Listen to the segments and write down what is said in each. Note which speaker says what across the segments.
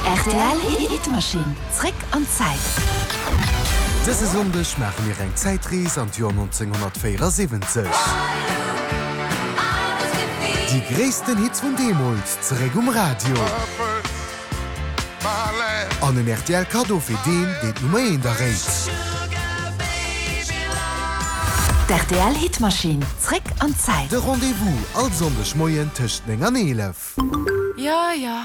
Speaker 1: Rtl Hitmachine, zréck an d'Zäit.
Speaker 2: Dëse Sonndeg maache mir eng Zäitrees an d'Joer 1974. Déi gréissten Hits vun deemools zeréck um Radio. An en rtl Kaddo fir deen, deen d'Nummer eent erréit.
Speaker 1: D'RTL Hitmachine, zréck an d'Zäit.
Speaker 2: De Rendez-vous all Sonndeg Moien tëscht 9 an 11.
Speaker 3: Jo, jo,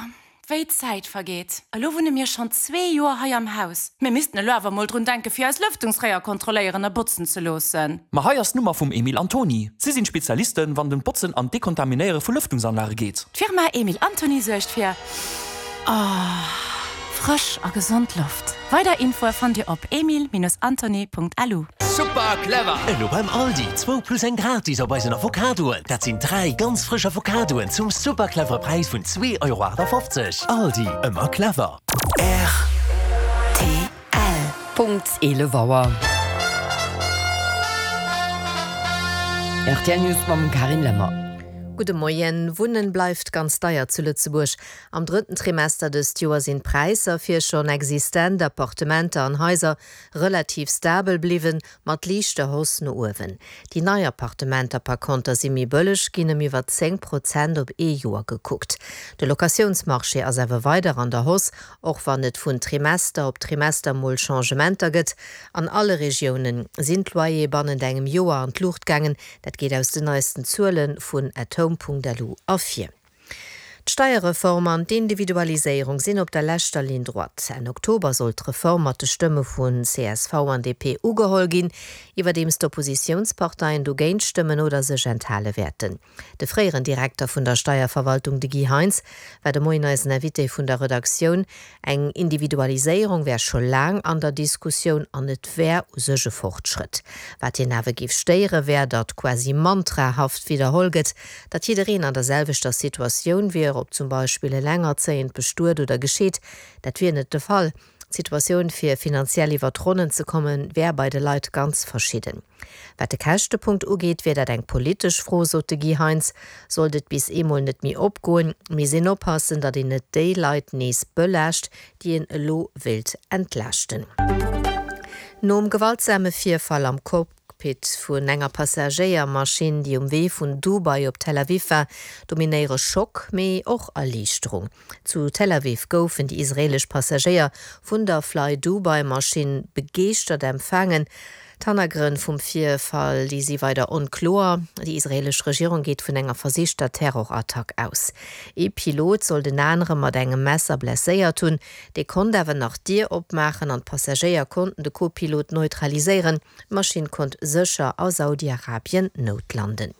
Speaker 3: wéi d'Zäit vergeet. Elo wunne mir schonn zwee Joer hei am Haus. Mir missten elo awer mol drun denken, fir eis Lëftungsréier kontrolléieren a botzen ze loossen.
Speaker 4: Ma hei ass d'Nummer vum Emil Antony. Si sinn d'Spezialisten, wann et ëm d'Botzen an d'Dekontaminéiere vu Lëftungsanlage geet.
Speaker 3: D'Firma Emil Antony suergt fir frësch a gesond Loft. Weider Infoe fannt Dir op emil-antony.lu.
Speaker 5: Super clever!
Speaker 6: Elo beim Aldi, zwou plus eng gratis op eisen Avocadoen. Dat sinn 3 ganz frësch Avocadoen zum super clevere Präis vun 2,58 Euro. Aldi, ëmmer clever.
Speaker 1: Rtl.
Speaker 7: Punkt 11 Auer. Rtl News mam Carine Lemmer.
Speaker 8: Gudde Moien. Wunnen bleift ganz deier zu Lëtzebuerg. Am drëtten Trimester dëst Joer sinn d'Präisser fir schonn existent Appartementer an Haiser relativ stabel bliwwen, mat liichter Hausse no uewen. Déi nei Appartementer par konter si méi bëlleg ginn, ëm iwwer 10 Prozent op ee Joer gekuckt. De Locatiounsmarché ass awer weider an der Hausse, och wann et vun Trimester op Trimester mol Changementer gëtt. An alle Regioune sinn d'Loyere bannent engem Joer an d'Luucht gaangen. Dat geet aus den neisten Zuele vun athome.lu ervir. D'Steierreform an d'Individualiséierung sinn op der leschter Ligne droite. Enn Oktober soll d'Reform mat de Stëmme vu csv an DP ugeholl ginn, iwwerdeems d'Oppositiounsparteien dogéint stëmmen oder sech enthale wäerten. De fréieren Direkter vun der Steierverwaltung, de Guy Heintz, war de Moien eisen Invité vun der Redaktioun. Eng Individualiséierung wär scho laang an der Diskussioun an et wär u sech e Fortschrëtt. Wat hien awer géif stéiere wär, datt quasi mantrahaft widderholl gëtt, datt jiddereen an der selwechter Situatioun wier, ob zum Beispill elengerzéiend, bestuet oder gescheet. Dat wier net de Fall. D'Situatioun fir finanziell iwwer d'Ronnen ze kommen, wär bei de Leit ganz verschidden. Wat de Käschtepunkt ugeet, wier dat eng politesch Fro, sot de Guy Heintz. Sollt et bis eemol net méi opgoen, misst een oppassen, datt een net déi Leit nees belaascht, déi een elo wéilt entlaaschten. Nom gewaltsame Virfall am Cockpit vun enger Passagéiermaschinn, déi um Wee vun Dubai op Tel Aviv war, dominéiere Schock, mee och Erliichterung. Zu Tel Aviv goufen déi israeelesch Passagéier vun der Fly-Dubai-Maschinn begeeschtert empfaangen. D'Hannergrënn vum Virfall, déi si weider onkloer. Déi israeelesch Regierung geet vun enger versichter Terrorattack aus. Ee Pilot soll den anere mat engem Messer blesséiert hunn. Dee konnt awer nach d'Dier opmaachen an d'Passagéier konnten de Co-Pilot neutraliséieren. D'Maschinn konnt sécher a Saudi-Arabien noutlanden.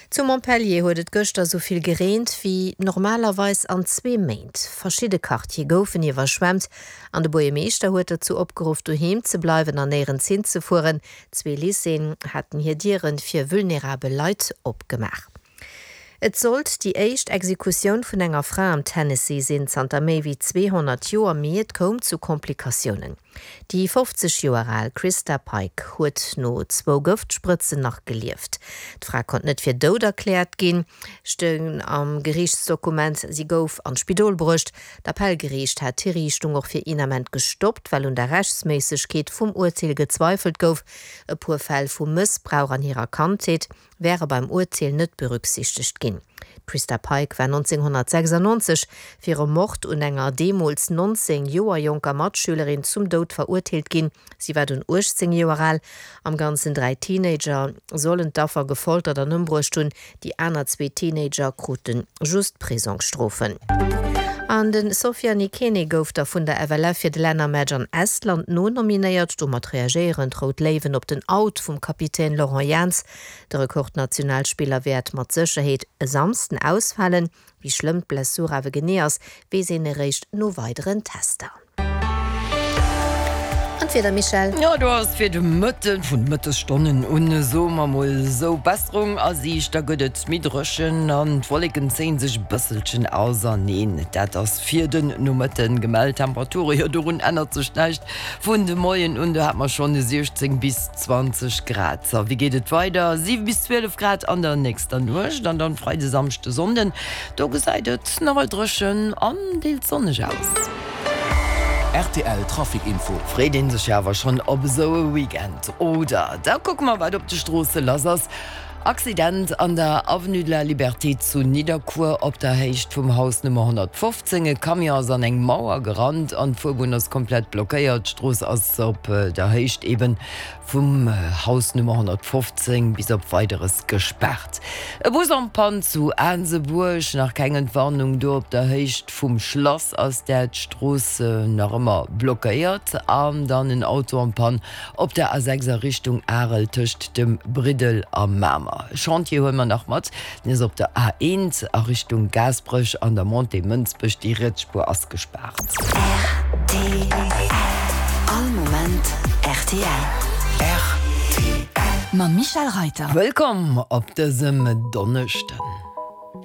Speaker 8: Zu Montpellier huet et gëschter esou vill gereent wéi normalerweis an zwee Méint. Verschidde Quartiere goufen iwwerschwemmt an de Buergermeeschter huet dozou opgeruff, doheem ze bleiwen an néierens hinzefueren. Zwee Lycéeën haten hir Diere fir vulnerabel Leit opgemaach. Et sollt déi éischt Exekutioun vun enger Fra am Tennessee sinn zanter méi wéi 200 Joer, mee et koum zu Komplikatiounen. Déi 50 Joer al Christa Pike huet no zwou Gëftsprëtzen nach gelieft. D'Fra konnt net fir dout erkläert ginn, stoung am Geriichtsdokument. Si gouf an d'Spidol bruecht. D'Appellgeriicht hat d'Hiriichtung och fir een Ament gestoppt, well un der Rechtsméissegkeet vum Urteel gezweifelt gouf. E puer Fäll vu Mëssbrauch an hirer Kandheet wäre beim Urteel net berücksichtegt ginn. D'Christa Pike war 1996 fir e Mord un enger deemools 19 Joer jonker Matschülerin zum Doud verurteelt ginn. Si war dunn 18 Joer al. Am Ganzen 3 Teenager sollen d'Affer gefoltert an ëmbruecht hunn. Déi aner zwee Teenager krute just Prisongsstrofen. An de Sofiane Ikene gouf da vun der FLF fir de Lännermatch an Estland nonominéiert. Domat reagéieren d'Rout Léiwen op den Out vum Kapitän Laurent Jans. De Rekordnationalspiller wäert mat Sécherheet e Samsden ausfalen. Wéi schlëmm d'Blessur awer genee ass, weess een eréischt no weideren Tester. An d'Wieder, Michèle?
Speaker 7: Jo, do ass fir de Mëtten, vun de Mëttesstonnen un, soe mer mol esou, Besserung a Siicht. Da gëtt et méi dréchen an d'Wolleken zéie sech e bësselchen auserneen. Dat ass fir den Nomëtten gemellt. Temperature, jo dorun ännert sech näischt vun de Moien un, do hate mer schonn 16 bis 20 Grad. A wéi geet et weider? 7 bis 12 Grad an der nächster Nuecht an dann Freide, Samschde, Sonnden, do gesäit et nawell dréchen an deels sonneg aus.
Speaker 4: Rtl Trafic Info.
Speaker 7: Freet een sech jo awer schonn op esou e Weekend, oder? Da kucke mer wat op de Stroosse lass ass. Accident an der Avenue de la Liberté zu Nidderkuer op der Héicht vum Haus Nummer 115. E Camion ass an eng Mauer gerannt an d'Fuerbunn ass komplett blockéiert. D'Strooss ass op der Héicht eben Vum Haus Nummer 115 bis op Weideres gespaart. E Bus en panne zu Aansebuerg, nach keng Entwarnung do. Op der Héicht vum Schlass ass dat d'Strooss nach ëmmer blockéiert. An dann en Auto en panne op der A6 a Richtung Arel tëscht dem Briddel a Mamer. E Chantier huele mer nach mat, den ass op der A1 a Richtung Gaasperech an der Montée Mënsbech. Déi riets Spuer ass gespaart.
Speaker 1: Rtl. All Moment rtl.
Speaker 2: Rtl.
Speaker 1: Mam Michel Reiter.
Speaker 7: Wëllkomm op dësem Donneschden.